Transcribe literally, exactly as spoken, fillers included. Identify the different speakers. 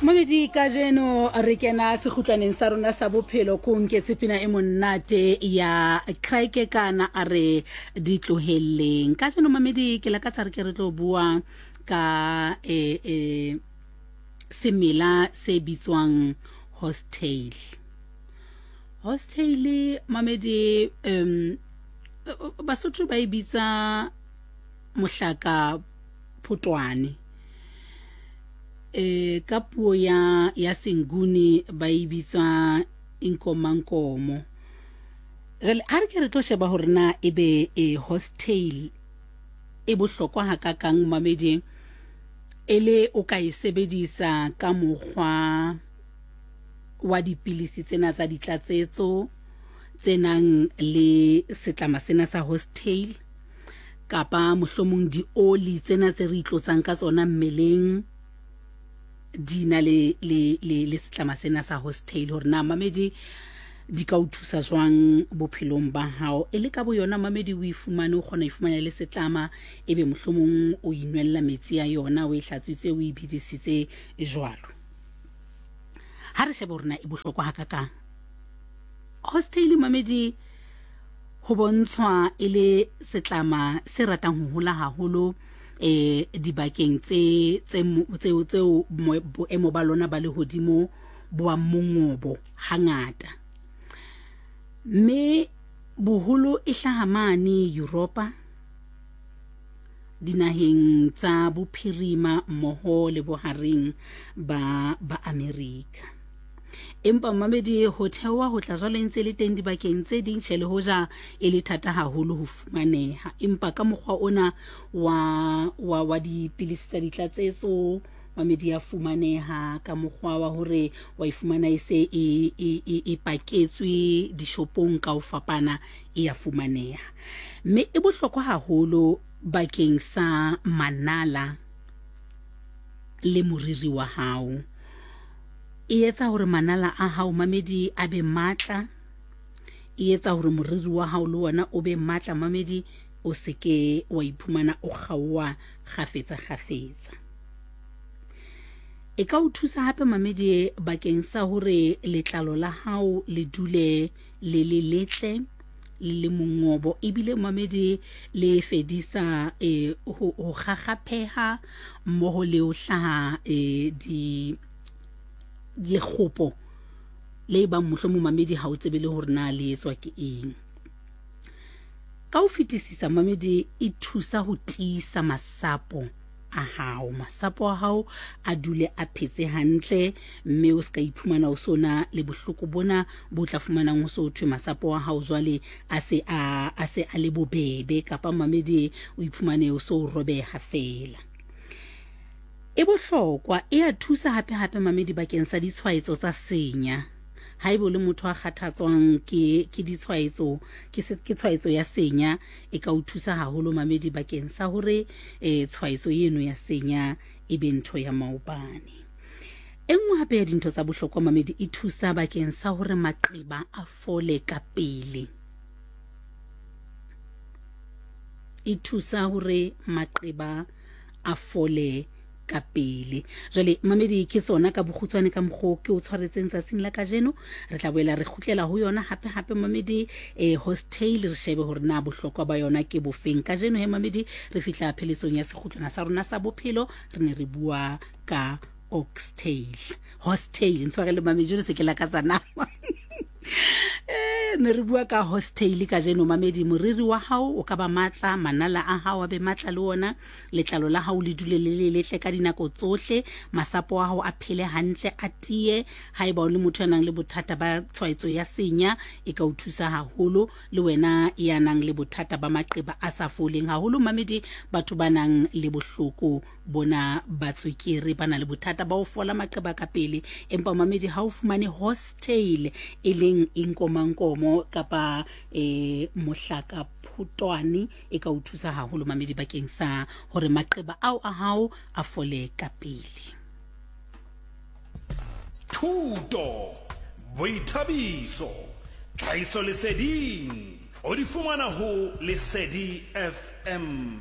Speaker 1: Mamedi, kajeno re kena sekgutlwaneng sa rona sa bophelo. Ko nketse pina e monate ya Craike kana a re di tlohelleng. Kajeno mamedi, ke lakatsa re ke re tlo bua ka e, e, semela se bitswang horsetail. Horsetail mamedi, um Basotho ba e bitsa mohlaka photwane, e ka puo ya ya Senguni ba e bitsa inkomankomo. Jwale ha re ke re tlo sheba hore na ebe e horsetail e bohlokwa hakakang mamedi, e le o ka e sebedisa ka mokgwa wa dipilisi tsena tsa ditlatsetso tse nang le setlama sena sa horsetail, kapa mohlomong dioli tsena tse re itlotsang ka tsona mmeleng di na le le le le setlama sena sa horsetail, hore na mamedi di ka o thusa jwang bophelong ba hao. E le ka bo yona mamedi, o e fumane, o kgona e fumana le setlama, ebe mohlomong o inwella metsi a yona, o e hlatswitse, o e bidisitse jwalo. Ha re shebe hore na e bohlokwa hakakang horsetail mamedi. Ho bontshwa e le setlama se ratang ho hola haholo eh dibakeng tse tse tseo tseo boemo ba lona ba lehodimo bo ba mongobo hangata, mme boholo e hlaha mane Europa, dinaheng tsa bophirima mmoho le bohareng ba ba Amerika. Empa mamedi, ho theoha ho tla jwale ntse le teng dibakeng tse ding, tjhe, le hoja e le thata haholo ho fumaneha, empa ka mokgwa ona wa wa wa dipilisi tsa ditlatsetso mamedi ya fumaneha ka mokgwa wa hore wa e fumana e se e e e paketswe dishopong ka ho fapana, e ya fumaneha, mme e bohlokwa haholo bakeng sa manala le moriri wa hao. E etsa hore manala a hao mamedi a be matla, e etsa hore moriri wa hao le wona o be matla mamedi, o se ke wa iphumana o kgaoha kgafetsa kgafetsa. E ka o thusa hape mamedi bakeng sa hore letlalo la hao le dule le le letle le le mongobo, ebile mamedi le fedisa e ho kgakgapheha mmoho le ho hlaha e di lekgopo le bang mohlomong mamedi ha o tsebe le hore na le etswa ke eng. Ka ho fetisisa mamedi, e thusa ho tiisa masapo a hao, masapo a hao a dule a phetse hantle, mme o ska iphumana o sona le bohloko bona bo tla fumanang ho so thwe masapo a hao jwale a se a a se a le bobebe, kapa mamedi o iphumane o so robeha fela. E bohlokwa, e a thusa hape hape mamedi bakeng sa ditshwaetso tsa senya. Haeba o le motho a kgathatswang ke ke ditshwaetso, ke ke tshwaetso ya senya, e ka o thusa haholo mamedi bakeng sa hore e tshwaetso eno ya senya e be ntho ya maobane. E nngwe hape ya dintho tsa bohlokwa mamedi, e thusa bakeng sa hore maqeba a fole ka pele. E thusa hore maqeba a fole ka pele. Jwale mamedi, ke tsona ka bokgutshwane ka mokgo ke o tshwaretseng tsatsing la kajeno. Re tla boela re kgutlela ho yona hape hape mamedi, eh horsetail, re shebe hore na bohlokwa ba yona ke bofeng. Kajeno he mamedi, re fihla pheletsong ya sekgutlwana sa rona sa bophelo, re ne re bua ka oxtail, horsetail. Ntshwarele mamedi, jwale se ke lakatsa nama. Eh ne re bua ka horsetail kajeno mamedi. Moriri wa hao o ka ba matla, manala a hao a be matla le ona, letlalo la hao le dule le le letle ka dinako tsohle, masapo a hao a phele hantle, a tiye. Haeba o le motho ya nang le bothata ba tshwaetso ya senya, e ka o thusa haholo. Le wena ya nang le bothata ba maqeba a sa foleng haholo mamedi, batho ba nang le bohloko bona ba tswekere, ba na le bothata ba ho fola maqeba ka pele, empa mamedi ha o fumane horsetail e leng inkomankomo kapa e mohlaka photwane, e ka o thusa haholo mamedi bakeng sa hore maqeba ao a hao a fole ka pele.
Speaker 2: Thuto, boithabiso, tlhahiso leseding, o di fumana ho Lesedi F M.